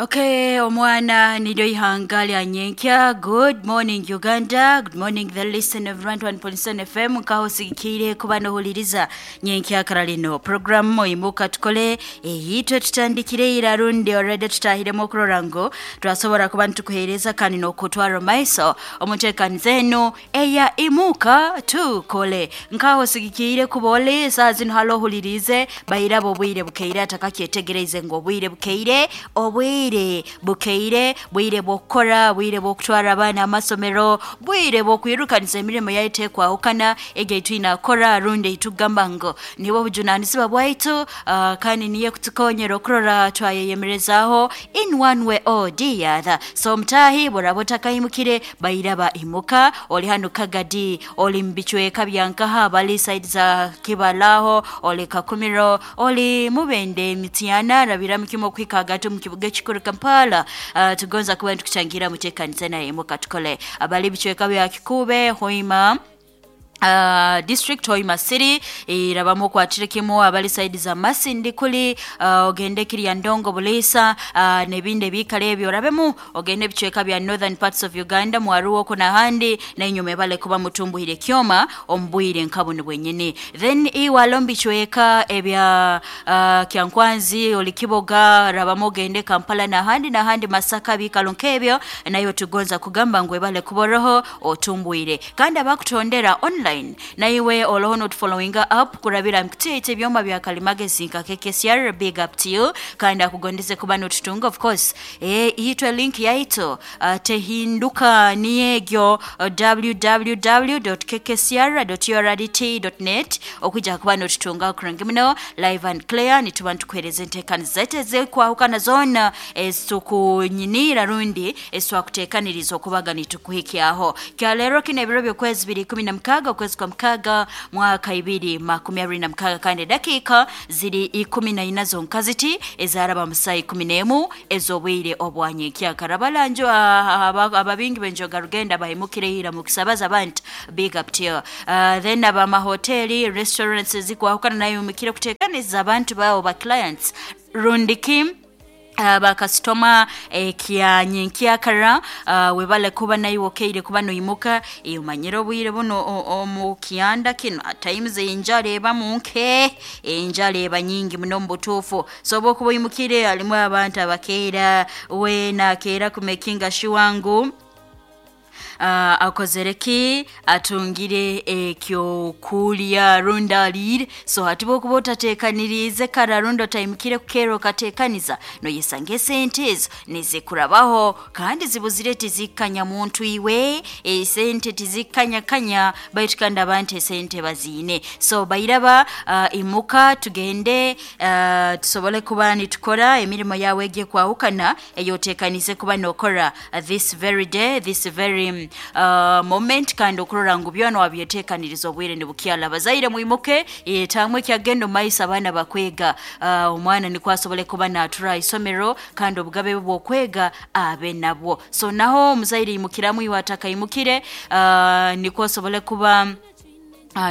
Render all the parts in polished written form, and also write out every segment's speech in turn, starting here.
Okay, omwana niryo ihanga lya nyenkya. Good morning Uganda, good morning the listener of 1.7 FM. Nkaho sigikiire kuba nohuliriza nyenkya kara lino programu imuka tukole eyitwe tutandikire ira rundi already tutahiremu okurora ngu twasobora kuba nitukuhereza kandi nokutwara maiso omuntekaniza enu eya imuka tukole. Nkaho sigikiire kuba oli saa zino halo ohulirize bairaba obwire bukeire atakakyetegereze ngu obwire bukeire, obwire bukeire, bwire bw'okukora, bwire bw'okutwara abaana amasomero, bwire bw'okwirukanisa emirimo yaitu ekwahukana egyo eitwine akora rundi eitugamba ngu nibwo obujunanizibwa bwaitu, kandi niyo ekutukonyera okurora twayeyemerezaaho in one way or the other. So mutahi bworaba otakaimukire bairaba imuka, oli hanu Kagadi, oli mu bicweka bya nkaha bali side za Kibalaho, oli Kakumiro, oli Mubende, Mityana, rabiramu kimwe okuhika hagati omu kibuga ekikuru Kampala. Tugonza kuba nitukutangira muteekanize naye imuka tukole. Abali bicweka bya Kikuube, Hoima, district Hoima City irabamu okwatire kimu, abali side za Masindi kuli, ogende Kiryandongo Buliisa, n'ebindi ebiikaro ebyo orabemu ogende ebicweka bya northern parts of Uganda mwaruwo oku n'ahandi, nainywe mwebale kuba mutumbuhire ekyoma omu bwire nka bunu bwenyini. Then iwe ali omu bicweka ebya Kyankwanzi, oli Kiboga, rabamu ogende Kampala n'ahandi n'ahandi Masaka ebiikaro nk'ebyo, naiwe tugonza kugamba ngu webale kuba oroho otumbwire. Kandi abakutondera online, naiwe oroho notufollowinga up kurabira mukutiita ebyoma bya kalimagezi nka KKCR, big up to you, kandi akugondeze kuba notutunga of course. Itwe link yaitu tehinduka niyo egyo www.kkcr.urdt.net okwija kuba notutunga kurungi muno live and clear. Nituba nitukuhereza enteekaniza zaitu ezikwahukana zoona ezitukunyiniira rundi ezitwakuteekaniriza okubaga nitukuhikyaho. Kya leero kinu ebiro by'okwezi biri 16 okwezi kwa mukaaga mwaka 2026 kandi edakiika ziri 14 zonka ziti ezaraba mu saa 11 ez'obwire obwa nyenkyakara. Abalangi ababingi b'enjoga rugenda bahimukire ira mu kisabaza abantu, big up to you. Then abamahoteli, restaurants ezikwahukana nayo imukire kuteekaniza abantu baabo ba clients rundi ki bakasitoma ekya nyenkyakara. Webale kuba naiwe okeire kuba noimuka, omanyire obwire buno omu kyanda kinu at times enjara ebamu nke, enjara eba nyingi muno omu butuufu. So obu okuba oimukire harimu abantu abakeera, weena akeera kumekinga sure ngu akozere ki, atungire ekyokurya rundi ariire. So hati bwokuba otateekaniriize kara rundi otaimukire kukeera okateekaniza, noyesanga esente ezo nizikurabaho kandi zibuzire tizikanya muntu iwe, esente tizikanyakanya baitu kandi abantu esente baziine. So bairaba, imuka tugende, tusobole kuba nitukora emirimo yawe egyo ekwahukana eyoteekaniize kuba nokora this very day, this very moment, kandi okurora ngu byona wabyeteekaniriza obwire nibukyala. Abazaire mwimuke, taamu ekyagenda omu maiso abaana bakwega, omwana nikwo asobole kuba naatura ha isomero kandi obugabe bwe bw'okwega abe nabwo. So naho omuzaire imukiramu iwe atakaimukire, nikwo osobole kuba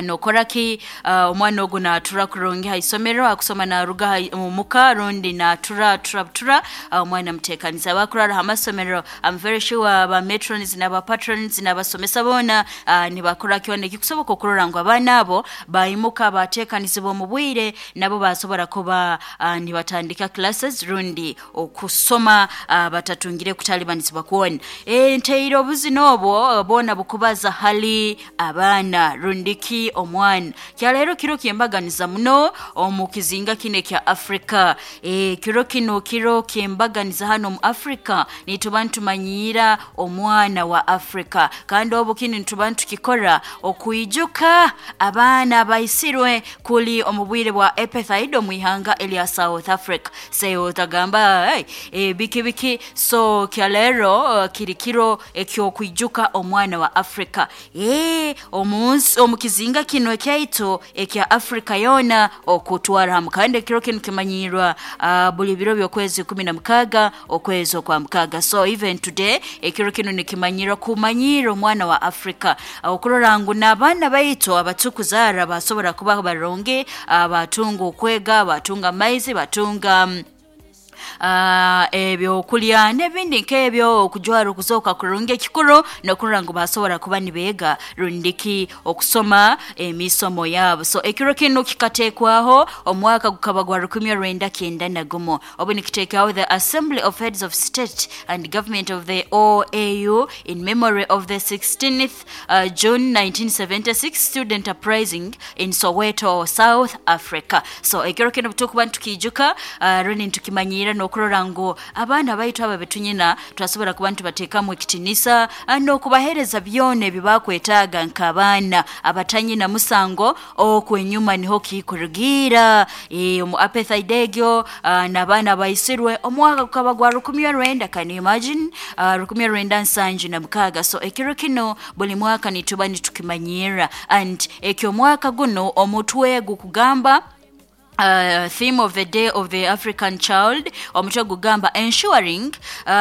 nokora ki, omwana ogu naatura kurungi ha isomero, akusoma naaruga omuka rundi naatura atura butura, omwana muteekanize. Abakurara ha masomero, I'm very sure aba matrons n'aba patrons n'abasomesa boona nibakora kyona ekikusoboka okurora ngu abaana abo baimuka baateekanizibwa omu bwire nabo baasobora kuba nibatandika classes rundi okusoma batatungire kutalibanizibwa kwona. Ntaire obuzina obwo bwona bukubaza hali abaana rundi ki omwana. Kya leero kiro ky'embaganiza muno omu kizinga kinu ekya Afrika. Kiro kinu kiro ky'embaganiza hanu omu Afrika, nituba nitumanyiira omwana wa Afrika. Kandi obu kinu nituba nitukikora okwijuka abaana abaisirwe kuli omu bwire bwa apartheid omu ihanga erya South Africa. Se otagamba hey, biki biki. So kya leero kiri kiro eky'okwijuka omwana wa Afrika. Omu nsi, omu kizinga kinu ekyaitu ekya Afrika yoona okutwara hamu. Kandi ekiro kinu kimanyiirwa buli biro by'okwezi 16 okwezi okwa mukaaga. So even today ekiro kinu nikimanyirwa kumanyiira omwana wa Afrika, okurora ngu n'abaana baitu abatukuzaara basobora kuba barungi, batunga okwega, batunga amaizi, batunga Ebyokulya n'ebindi nk'ebyo, okujwara okuzooka kurungi, ekikuru n'okurora ngu basobora kuba nibeega rundiki okusoma emisomo yaabo. So ekiro kinu kikateekwaho omwaka gukaba gwa 1991, obu nikiteekaho the Assembly of Heads of State and Government of the OAU in memory of the 16th June 1976 student uprising in Soweto, South Africa. So ekiro kinu tukuba nitukiijuka rundi nitukimanyiira n'okurora ngu abaana baitu aba betunyina twasobora kuba nitubateekamu ekitinisa n'okubaheereza byona ebi bakwetaaga nk'abaana abatanyina musango. Okwo enyuma niho kikurugiira omu apartheid egyo, n'abaana abaisirwe omwaka gukaba gwa 1900, can you imagine, 1976. So ekiro kinu buli mwaka nituba nitukimanyirra, and eky'omwaka guno omutwe gukugamba, theme of the Day of the African Child, omutwe gugamba ensuring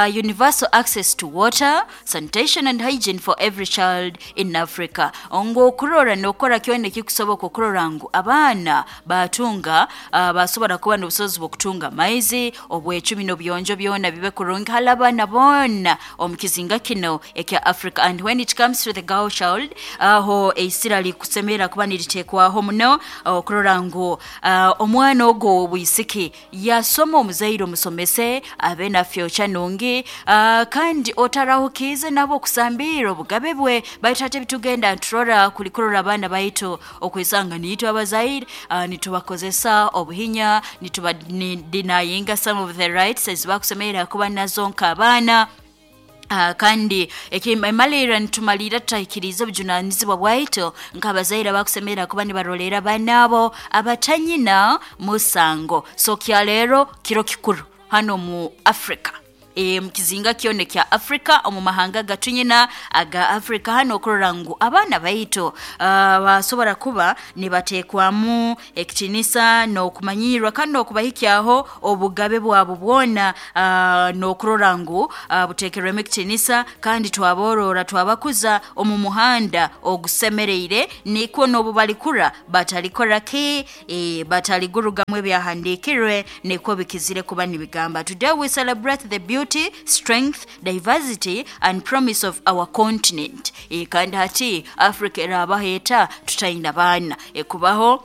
universal access to water, sanitation and hygiene for every child in Africa, ngu okurora n'okukora kyona ekikusoboka okurora ngu abaana batunga, basobora kuba n'obusobozi bw'okutunga amaizi, obwecumi n'obuyonjo byona bibe kurungi hali abaana boona omu kizinga kino ekya Africa. And when it comes to the girl child, aho eisira likusemerra kuba niritekwaho muno okurora ngu omwana ogwo ow'obwisiki yasoma, omuzaire omusomese abe na future nungi, kandi otarahukiize nabo okusambirra obugabe bwe. Baitu hati ebitugenda niturora kuli kurora abaana baitu okwesanga niitwe abazaire nitubakozesa obuhinya, nituba denyinga some of the rights ezi bakusemerra kuba nazo nk'abaana. Kandi emalirra nitumalirra tutahikiriize obujunanizibwa bwaitu nk'abazaire abakusemerra kuba nibarolerra abaana abo abatanyina musango. So kyaleero kiro kikuru hanu omu Africa, omu kizinga kyona ekya Africa, omu mahanga agatunyina aga Africa hanu, okurora ngu abaana baitu basobora kuba nibateekwamu ekitiinisa n'okumanyirwa kandi n'okubahikyaho obugabe bwabo bwona, n'okurora ngu buteekerwemu ekitiinisa kandi twaborora twabakuza omu muhanda ogusemereire, nikwo n'obu balikura batalikora ki, bataligurugamu. Ebyahandiikirwe nikwo bikizire kuba nibigamba, today we celebrate the beauty, strength, diversity and promise of our continent. Kandi hati Africa erabaho eta tutaine baana ekubaho?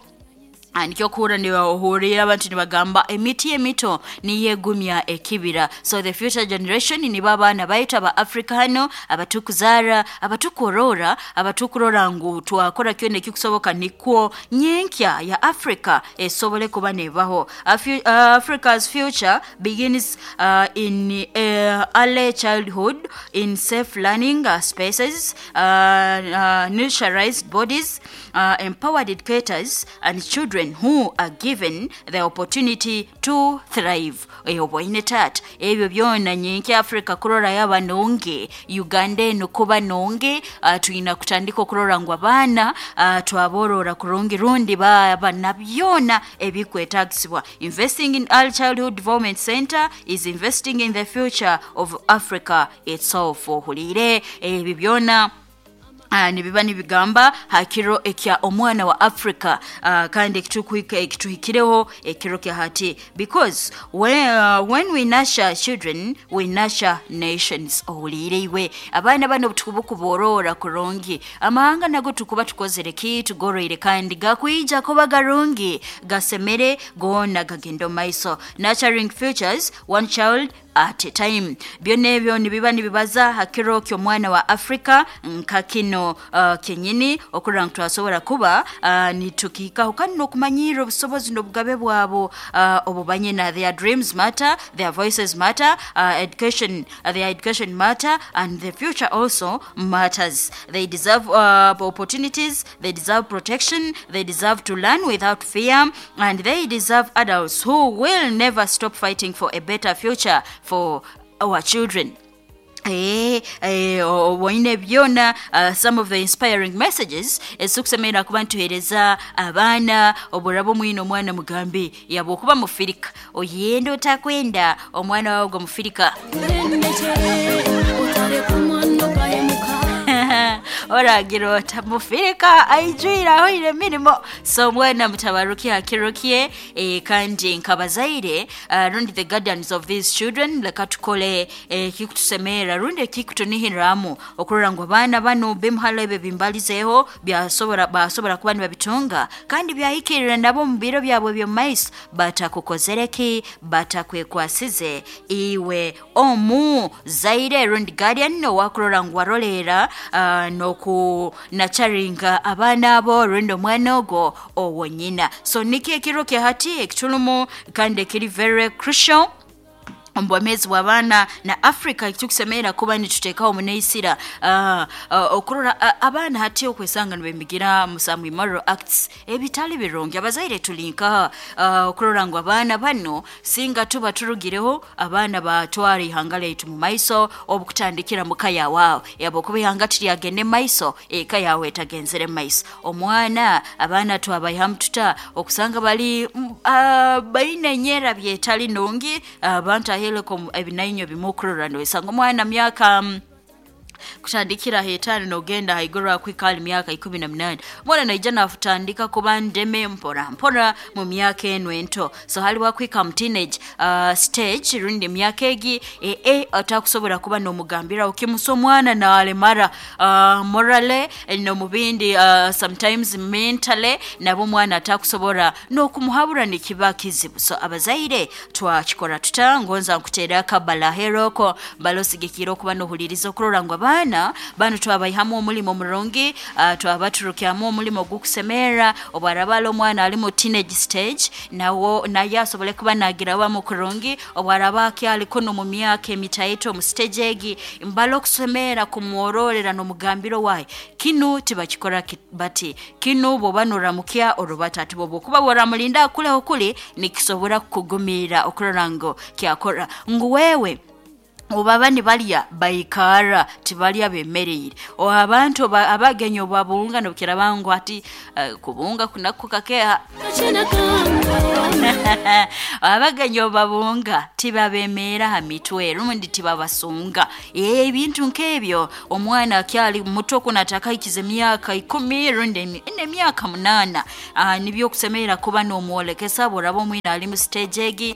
Nikyo okuhurra ohurra abantu nibagamba emiti emito niyo egumya ekibira. So the future generation nibo abaana baitu aba Africa hanu abatukuzaara, abatukurora, abatukurora ngu twakora kyona ekikusoboka nikwo nyenkya ya Africa esobole kuba nebaho. Africa's future begins in early childhood, in safe learning spaces, nurtured bodies, empowered educators and children who are given the opportunity to thrive. Oboine taata, ebyo byona nyenkya Africa kurora yaba nungi, Uganda enu kuba nungi, twina kutandika okurora ngu abaana twaborora kurungi rundi baba na byona ebikwetagisibwa. Investing in early childhood development center is investing in the future of Africa itself. Ohuliire ebi byona nibiba nibigamba ha kiro ekya omwana wa Africa, kandi ekituhikireho ekiro kya hati, because when we nurture children, we nurture nations. Ohuliire iwe, abaana bano obutukubukuborora kurungi, amahanga nago tukuba tukozere ki, tugoroire, kandi gakwija kuba garungi, gasemere goona gagenda omu maiso. Nurturing futures one child at a time. Byona ebyo nibiba nibibaza ha kiro ky'omwana wa Africa nka kino kenyini, okurora ngu twasobora kuba nitukihikaho kandi n'okumanyirra obusobozi n'obugabe bwabo obubanyina. Their dreams matter, their voices matter, education, their education matter, and the future also matters. They deserve opportunities, they deserve protection, they deserve to learn without fear, and they deserve adults who will never stop fighting for a better future for our children. Oboine byona, some of the inspiring messages ezikusemerera kuba nituheereza abaana. Oburaba omwine omwana, mugambe yaba okuba mufirika, oyenda otakwenda, omwana wawe gwe mufirika. Oragira ota mufirika aijwire ahoire emirimo. So mwana mutabaruki hakirukie, kandi nkabazaire, rundi the guardians of these children, leka tukole ekikutusemerera rundi ekikutunihiramu okurora ngu abaana banu bimuhala ebyo bimbalizeho byasobora basobora kuba nibabitunga kandi byahikirira nabo mu biro byabwe by'omu maiso, batakukozere ki, batakwekwasize iwe omu zaire rundi guardian owakurora ngu warolera, n'okunacharinga abaana abo rundi omwana ogwo owo nyina. So nikyo ekiro kya hati ekitulumu kandi ekiri very crucial omu bwomezi bw'abaana na Africa, ekitukusemerera kuba nituteekaho muneisira, okurora abaana hati okwesanga nibemigira mu some immoral acts ebitali birungi. Abazaire tuli nkaha okurora ngu abaana bano singa tuba turugireho abaana batwara ihanga lyaitu mu maiso, obukutandikira muka yawe yabo, kuba ihanga tiryagenda maiso eka yawe etagenzere maiso. Omwana abaana twabayihamu tuta okusanga bali baine enyera byetali nungi, abantu aheleko ebinainyo bimukurora noesanga omwana myaka kutandikira 5 nogenda haiguru akwika ali myaka 18, omwana naija nafutandika kuba ndeme mpora mpora mu myaka eno ento. So hali wakwika mu teenage stage rundi emyaka egi atakusobora kuba nomugambira okimusa omwana nalemara, morale nomubindi, sometimes mentally nabo omwana atakusobora nokumuhabura nikiba kizibu. So abazaire twakikora tuta? Ngonza nkuteera akabala heroko balosigikira okuba nohuliriza okurora ngu abaana banu twabayihamu omulimo murungi, twabaturukyamu omulimo gukusemerera, obwarabala omwana ali mu teenage stage nawo naye asobole kuba nagira wamu kurungi, obwaraba akyali kuno mu myaka emitaito mu stage egi mbala okusemera kumwororera nomugambiro wayi kinu tibakikora bati kinu bwoba noramukya orubata ati bwoba okuba woramulinda akuleho kuli nikisobora kukugumira okurora ngu kyakora ngu wewe obaba nibalya baikara tibalya bemereire, abantu abagenyi obabunga nobukira bangu ati kubunga kunaku kakeha abagenyi obabunga tibabemera ha mitwe rundi tibabasunga ebintu nk'ebyo. Omwana akyali muto kunataka ikize emyaka 10 rundi emyaka 8, nibyo okusemerera kuba nomwolekesa boraba omwina ali mu stage egi,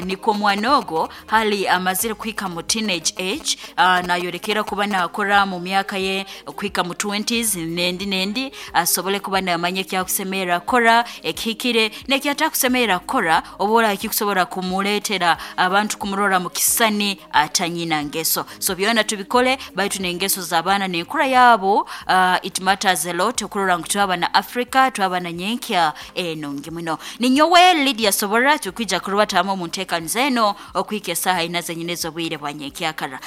niko omwana ogwo hali amazire kuhika mu teenage age, nayorekera kuba nakora mu myaka ye kuhika mu 20s nendi asobole kuba namanya ekyakusemerera kora ekihikire nekyatakusemerera kora, oba ekikusobora kumuletera abantu kumurora mu kisani atanyina ngeso. So byona tubikole baitu nengeso z'abaana nenkura yabo, it matters a lot okurora ngu twaba na Africa twaba na nyenkya enungi muno. Ninyowe Lydia Sobora, tukwija kurubatamu omu nteekaniza eno okuhika esaaha ina zenyine ez'obwire bwa nyenkyakara,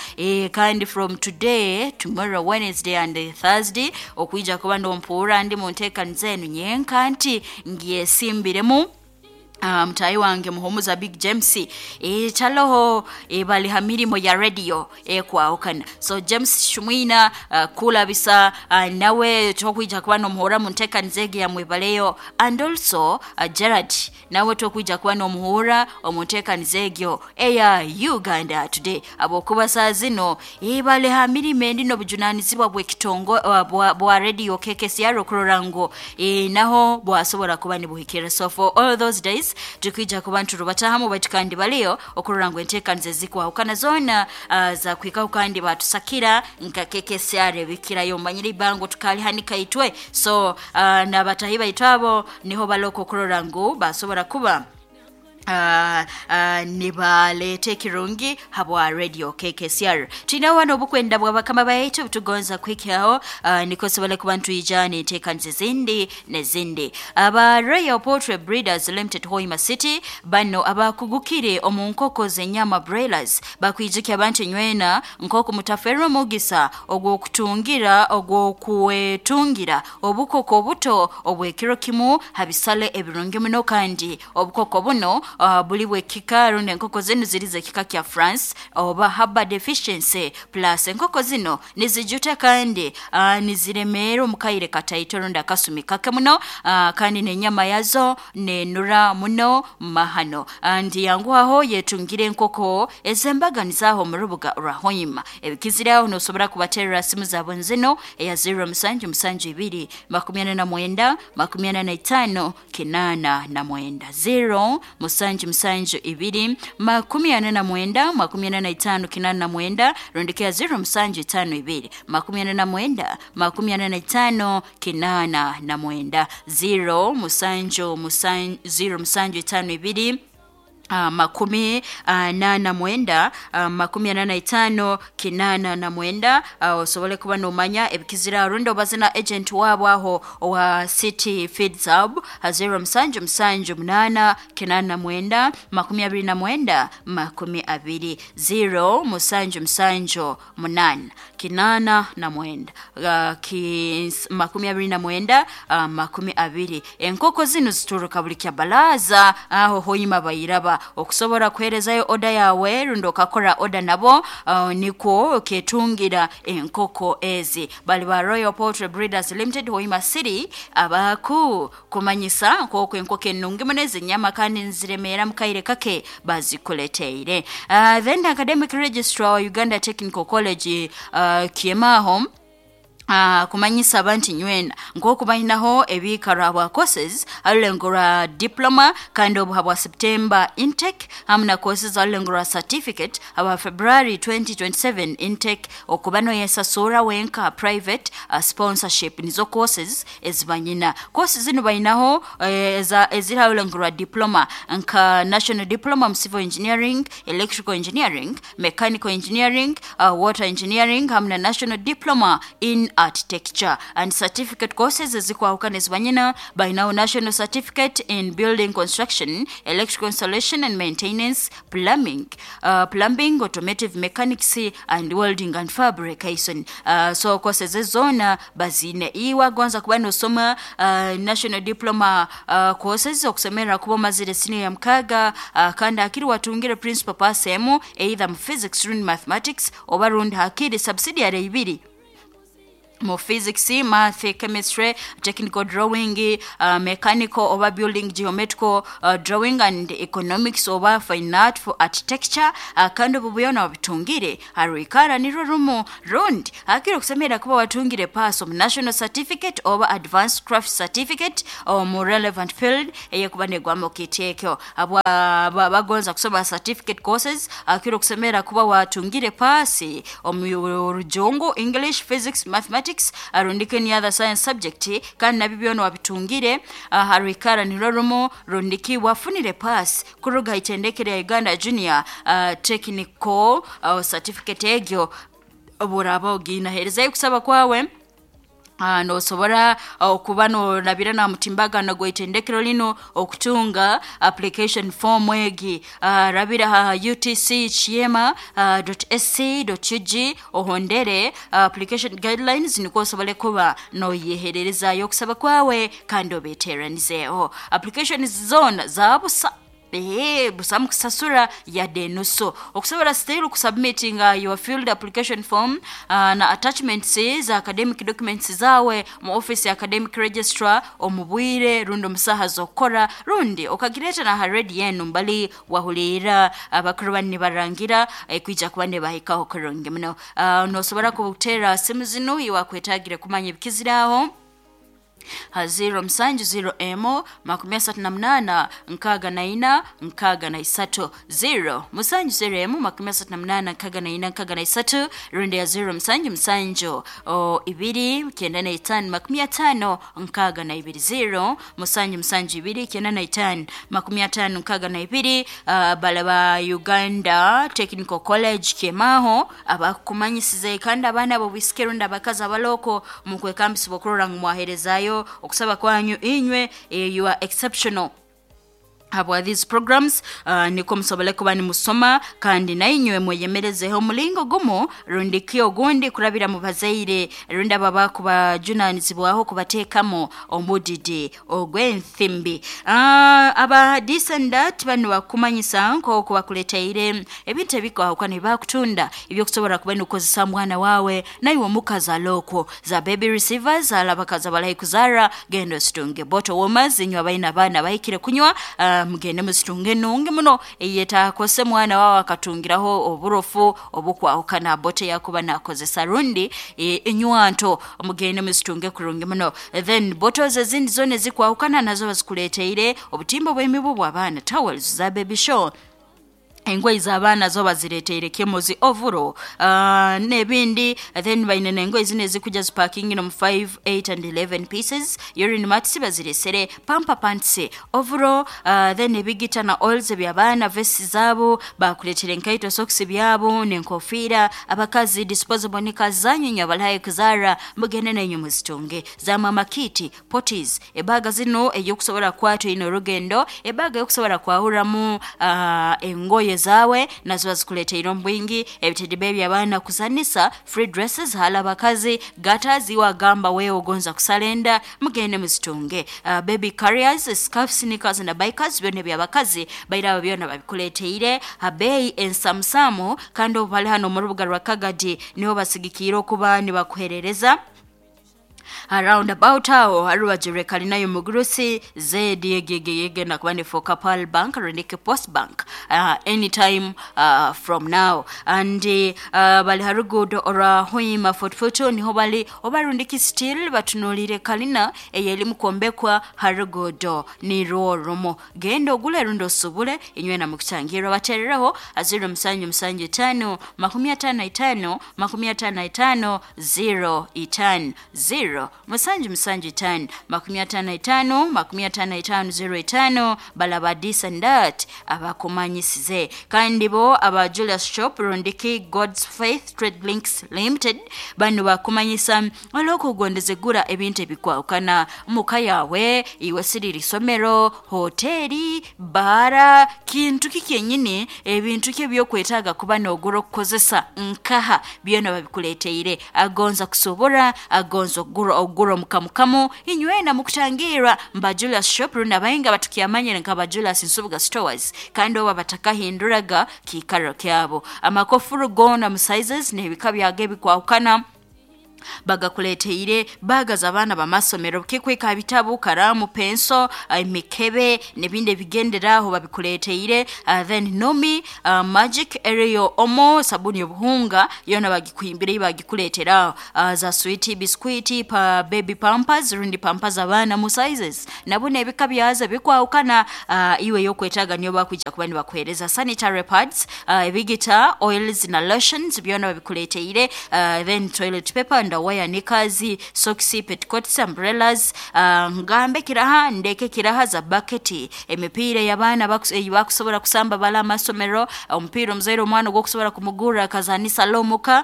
kandi from today, tomorrow, Wednesday and Thursday okwija kuba nompuura ndi mu nteekaniza enu nyenka nti ngyesimbiremu mutayi wange Muhumuza Big James, taloho, bali ha mirimo ya radio ekwahukana. So James Shumwina, kulabisa, nawe tokwija kuba nomuhura mu nteekaniza egi yamwebaleyo, and also Gerard nawe tokwija kuba nomuhura omu nteekaniza egyo eya Uganda Today, abokuba saa zino bali ha mirimo endi n'obujunanizibwa bw'ekitongo, bwa radio KKCR okurora ngu naho bwasobora kuba nibuhikira. So for all those days tukwija kuba nturubatahamu baitu kandi baliyo okurora ngu enteekaniza ezikwahukana zoona zakwikaho kandi batusakira nka KKCR ebikirayo manyire ibango tukalihanika itwe. So n'abatahi baitu abo niho baloko okurora ngu basobora kuba nibaleeta ekirungi habwa radio KKCR. Twine wano obukwenda bwa bakama baitu tugonza kuhikyaho, niko sobole kuba ntwija n'enteekaniza ezindi nezindi. Aba Royal Poultry Breeders Limited, Hoima City, bano abakugukire omu nkoko z'enyama broilers bakwijukya abantu nywena nk'oku mutaferwa omugisa ogw'okutungira ogw'okwetungira obukoko obuto obw'ekiro kimu ha bisale ebirungi muno, kandi obukoko buno Buli bwekika rundi enkoko zinu ziri z'ekika kya France oba haba deficiency plus. Enkoko zino nizijuta kandi niziremeera omu kaire kataito rundi akasumi kake muno, kandi n'enyama yazo nenura muno mahano. Ndi yanguhaho yetungire enkoko ez'embaganiza aho mu rubuga rwa Hoima. Ebikizire aho nosobora kubaterera simu zabo nzino eya 0772 49 45 89, 0 772 49 45 89, rundi ke ya 0752 49 45 89, 0 7 0 7 52 49 45 89. Osobole kuba nomanya ebikizira rundi obaze na agent wabo aho owa City Feeds Hub 0 7 7 8 89 29 20, 0 7 7 8 89 29 20. Enkoko zinu zituruka buli kya balaza aho Hoima bayiraba. Okusobora kuherezayo oda yawe rundi okakora oda nabo, nikwo ketungira enkoko ezi. Bali ba Royal Poultry Breeders Limited, Hoima City, abaku kumanyisa nk'oku enkoko enungi muno ezinyama kandi nziremeera mu kaire kake bazikuleteire. Then academic registrar wa Uganda Technical College Kiemaho kumanyisa abantu nywena nk'oku balinaho ebiikaro bwa courses arulengo rwa diploma kandi obuha bwa September intake, hamu na courses arulengo rwa certificate aba February 2027 intake, okuba noyesasura wenka private sponsorship nizo courses ezibanyina. Courses zinu balinaho eziri arulengo rwa diploma nka national diploma mu civil engineering, electrical engineering, mechanical engineering, water engineering hamu na national diploma in architecture. And certificate courses ezikwahukana ezibanyina, balinaho national certificate in building construction, electrical installation and maintenance, plumbing, plumbing, automotive mechanics and welding and fabrication. So courses zona bazine. Iwe agonza kuba nosoma national diploma courses, okusemera kuba omazire senior ya 6, kandi hakiri watungire principal pass emu either mu physics rundi mathematics, oba rundi hakiri subsidiary ibiri mu physics, math, chemistry, technical drawing, mechanical oba building geometrical drawing and economics oba fine art for architecture, kandi obu byona wabitungire harwikara nirwo rumu, rundi hakiri okusemera kuba watungire pass omu national certificate oba advanced craft certificate omu relevant field eyekuba negwamu kitekyo. Abwa bagonza kusoma certificate courses, hakiri okusemera kuba watungire pass omu rujungu, English, physics, mathematics rundi any other science subject, kandi nabyo byona wabitungire harwikara nirwo rumu, rundiki wafunire pass kuruga itendekere ya Uganda Junior Technical certificate egyo buraba oginaherezayo kusaba kwawe. Nosobora okuba norabira na mutimbagano gw'itendekero lino okutunga application form egi. Rabira ha utc chiema .sc .ug ohondere application guidelines, nikwo osobole kuba noyehererezayo okusaba kwawe kandi obeteranizeeho. Application zona zabusa, busa mukusasura yadde enusu. Okusobola still kusubmittinga your field application form na attachments za academic documents zawe mu office ya academic registrar omu bwire rundi omu saaha z'okukora, rundi okagireeta na ha redi yenu mbali wahulira abakuru bani nibarangira kwija kuba nibahikaho kurungi muno. Nosobora kuteera simu zinu iwakwetagire kumanya ebikiziraho ha 0 7 0 m 38 64 63, 0 7 0 m 38 64 63, rundi ya 0 7 7 2 95 50 62, 0 7 7 2 95 50 62. Bala ba Uganda Technical College Kiemaho abakumanyisize, kandi abaana abo bisike rundi abakazi abaloko mukwekambisibwa okurora ngu mwaherezayo okusaba kwanyu inywe. You are exceptional. Habwa these programs niko musobole kuba nimusoma kandi nainywe mweyemerezeho omulingo gumu rundi ki ogundi kurabira mu bazaire rundi aba bakubajunanizibwaho kubateekamu omudidi ogw'enthimbi. Aba this and that banu bakumanyisa nk'oku bakuleteire ebintu ebikwahukana ebakutunda ebyokusobora kuba nikukozesa mwana wawe naiwe omukazi alokwo za baby receivers alabakazi abalahi kuzara genda ositunge bottle warmers inywe abaina abaana bahikire kunywa mugende muzitunge enungi muno eyetakose mwana wawe akatungiraho oburofu obukwahukana bote yakuba nakozesa rundi enywanto mugende muzitunge kurungi muno. Then bottles ezindi zona ezikwahukana nazo bazikuleteire obutimba bw'emibu bw'abaana, towels za baby show, engoye z'abaana zo bazireteire kemozi ovuro n'ebindi. Then baine n'engoye zino ezikuja zipakingi mu 5, 8 and 11 pieces, urine mats baziresere, pamper pants ovuro, then ebigita na oils eby'abaana, vesti zaabo bakuletere, enkaito, socks byabo n'enkofiira, abakazi disposable knickers zanyu inywe abalahi kuzara mugende nenyu muzitunge, za mama kit, potties, ebaga zino eyokusobora kukwata ino orugendo, ebaga yokusobora kwahuramu engoye zawe nazo bazikuleteire omu bwingi, ebitedibe eby'abaana kuzanisa, free dresses hala abakazi, gatas iwagamba wewe ogonza kusalenda mugende muzitunge, baby carriers, scarfs, sneakers na bikers byona eby'abakazi bairaba byona babikuleteire habeyi ensamusamu. Kandi obu bali hano mu rubuga rwa Kagadi niho basigikiire okuba nibakuherereza roundabout aho harubajire kalinayo mugurusi zedi yegegeyege nakuba ni for Kapal Bank Renike Post Bank anytime from now. And bali harugudo ora Hoima Fort Portal niho bali obarundiki still batunulire kalina eyeli mukombekwa harugudo ni rumo genda ogule rundo osubule inywe na mukutangira baterereho 0 7 7 5 55 55 0 5 0 7 7 5 55 55 0 5. Balaba this and that abakumanyisize. Kandi bo aba Julius Shop rundiki God's Faith Trade Links Limited bano bakumanyisa olwokugondeza egura ebintu ebikwawukana muka yawe iwe siriri isomero hoteri bara kintu ki kyenyini ebintu ki ebyokwetaaga kuba noogura okukozesa nkaha byona babikuleteire. Agonza kusobora agonza okugura ogura omukamukamu inywena mukutangirwa mba Julius Shop rundi abahinga batukyamanyire nka Julius Nsubuga Stores kandi oba batakahinduraga kiikaro kyabo. Amakofuru gona mu sizes n'ebika byago ebikwahukana bagakuleteire, bagaza abaana bamasomero kikwika bitabu, karamu, penso, emikebe n'ebindi ebigenderaho babikuleteire. Then nomi, magic area, omo sabuni obuhunga yona bagikwimbire bagikuletera, za sweet biscuit pa baby pampers rundi pampers abaana mu sizes nabo n'ebika byazo bikwawukana, iwe yokwetaaga niyo bakwija kuba nibakuhereza, sanitary pads, ebigita, oils na lotions byona babikuleteire, then toilet paper, underwear, knickers, socks, petticoats, umbrellas, ngambe kiraha ndeke kiraha za bucket, emipiira y'abaana bakusobola kusamba bala amasomero, omupiira omuzaire omwana ogwokusobola kumugurra akazanisa lomuka,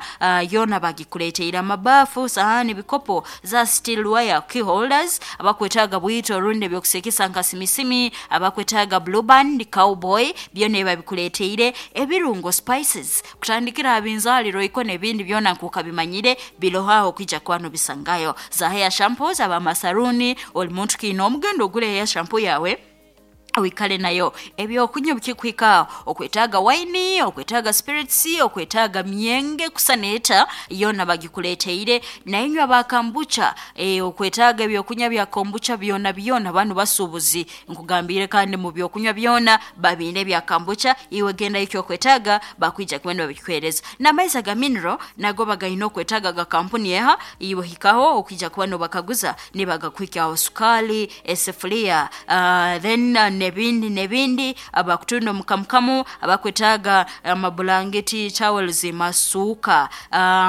yona bagikuleteire, amabafu, sahani, bikopo za steel wire, key holders, abakwetaaga bwito orundi ebyokusikisa nka simisimi, abakwetaaga Blue Band, Cowboy byona babikuleteire, ebirungo spices kutandikira abinzaliro iko n'ebindi byona nkuka bimanyire birohaho kwija kwano bisangayo, za hair shampoos abamasaruni oli muntu kiina omugendo ogule hair shampoo yawe wikale nayo. Ebyokunywa bikikwika okwetaaga wine, okwetaaga spirits, okwetaaga myenge kusaneeta yona bagikuleteire, nainywe aba kombucha, okwetaaga ebyokunywa bya kombucha byona byona banu basuubuzi nkugambire kandi mu byokunywa byona babiine bya kombucha iwe genda ikyo okwetaaga bakwija kuba nibabikuhereza, n'amaizi aga mineral nago bagayina okwetaaga ga kampuni eha iwe hikaho okwija kuba nobakaguza nibagakwikaho, sukali, esefuria, then nebindi nebindi, abakutunda omukamukamu, abakwetaaga amabulangeti, towels, masuuka,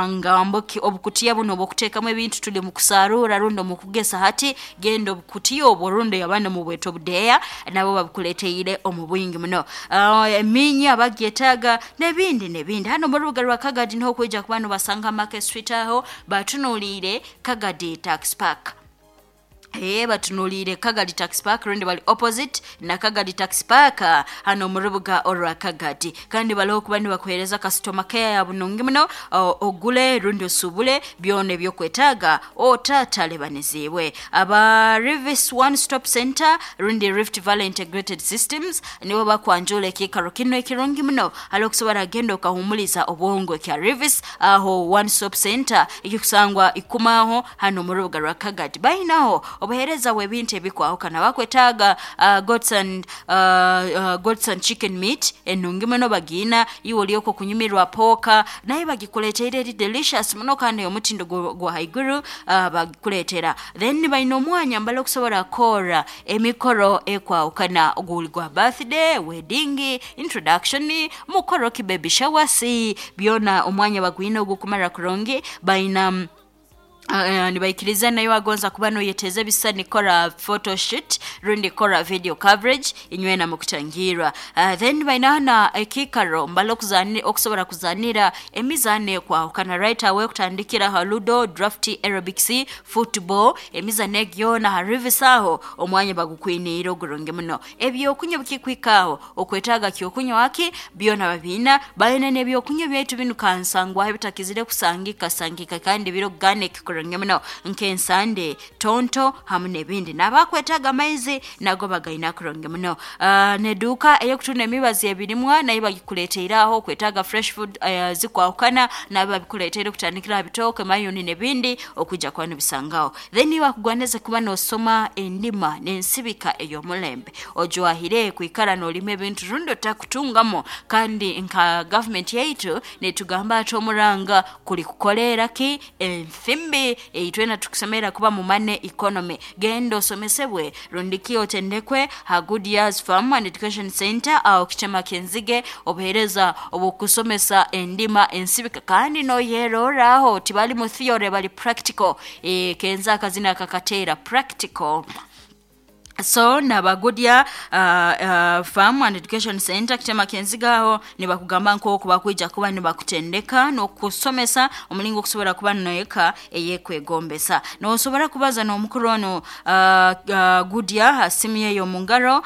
ngambo obukutiya buno obwokuteekamu ebintu tuli mu kusarura rundi omu kugesa hati genda obukutiya obwo rundi abana mu bweto obudeeya nabo babukuleteire omu bwingi muno, emiinyi abagyetaaga nebindi nebindi. Hano mu rubuga rwa Kagadi niho kwija kuba nobasanga Market Street aho batunuliire Kagadi Tax Park. Batunuliire Kagadi Taxi Park rundi bali opposite na Kagadi Taxi Park hano mu rubuga orwa Kagadi. Kandi baliho kuba nibakuheereza customer care ya bunungi muno, ogule rundi osubule byona ebyokwetaaga otatalebanizibwe. Aba Rivis One Stop Center rundi Rift Valley Integrated Systems nibo bakwanjula ekiikaro kino ekirungi muno hali okusobora genda okahumuliza obwongo kya Rivis aho One Stop Center ekikusangwa ikumaho hano mu rubuga rwa Kagadi. Bainaho obuheereza bw'ebintu ebikwahukana bakwetaaga goats and chicken meat enungi muno bagiina, iwe olyoko kunyumirwa pooka naye bagikuleteire eri delicious muno kandi omutindo gwa haiguru bagikuleetera. Then baina omwanya mbali okusobora kukora emikoro ekwahukana, oguli gwa birthday, wedding, introduction, mukoro ki baby shower, si byona omwanya bagwina ogukumara kurungi. Baina nibaikiriza nayo agonza kuba noyeteza ebisani kora photoshoot rundi kora video coverage inywena mukutangirwa. Then baina na ekikaro mbalo okusobora kuzanira emizano ekwahukana right away kutandikira ha ludo, draft, aerobics, football, emizano egyona ha Rivis aho omwanya bagukwiniire ogurungi muno. Ebyokunywa bikikwikaho okwetaaga kyokunywa aki byona babiina. Baina n'ebyokunywa byaitu binu kansangwaho ebitakizire kusangika sangika kandi biri organic kurungi muno nk'ensande, tonto hamu n'ebindi. N'abakwetaaga amaizi nago bagaina kurungi muno. N'eduuka ey'okutunda emibazi ebirimwa nayo bagikuleteire aho okwetaaga fresh food zikwahukana nabo babikuleteire kutandikira aha bitooke, mayuni n'ebindi okwija kuba nibisangaho. Then iwe akugwaneze kuba noosoma endima n'ensibika ey'omulembe ojwahire kwikara noolima ebintu rundi otakutungamo, kandi nka gavumenti yaitu netugamba ati omuranga kuli kukoleera ki enthimbi eitwena tukusemerera kuba mu money economy. Genda osomesebwe rundiki otendekwe ha Good Years Farm and Education Center aho Kitema Kenzige, obuheereza obw'okusomesa endima ensibika kandi noyerorraho tibali mu theory bali practical. Kenza akazina akakateera practical. So naba Goodyear Farm and Education Center Kitema Kenziga aho nibakugamba nk'oku bakwija kuba nibakutendeka n'okusomesa omulingo okusobora kuba noyeka eyekwegombesa. Nosobora kubaza n'omukuru onu Goodyear ha simu ye y'omungaro,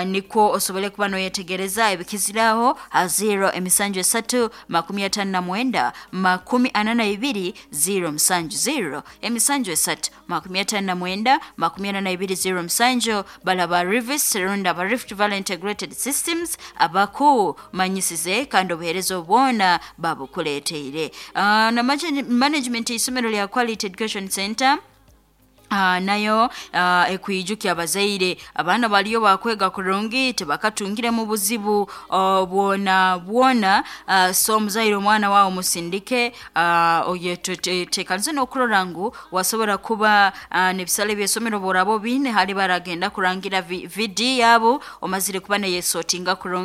nikwo osobole kuba noyetegereza ebikiziraho ha 0 emisanju esatu 59 42 0 7 0 emisanju esatu 59 42 0 7. Balaba Rivis rundi aba Rift Valley Integrated Systems abakumanyisize kandi obuheereza obwona babukuleteire. Na management y'isomero lya Quality Education Center nayo ekwijukya abazaire abaana baliyo bakwega kurungi tibakatungiremu buzibu bwona bwona. So omuzaire omwana wawe musindike, oyetekanize n'okurora ngu wasobora kuba n'ebisale by'esomero boraba obiine hali baragenda kurangira VD yabo omazire kuba neyesotinga kurungi.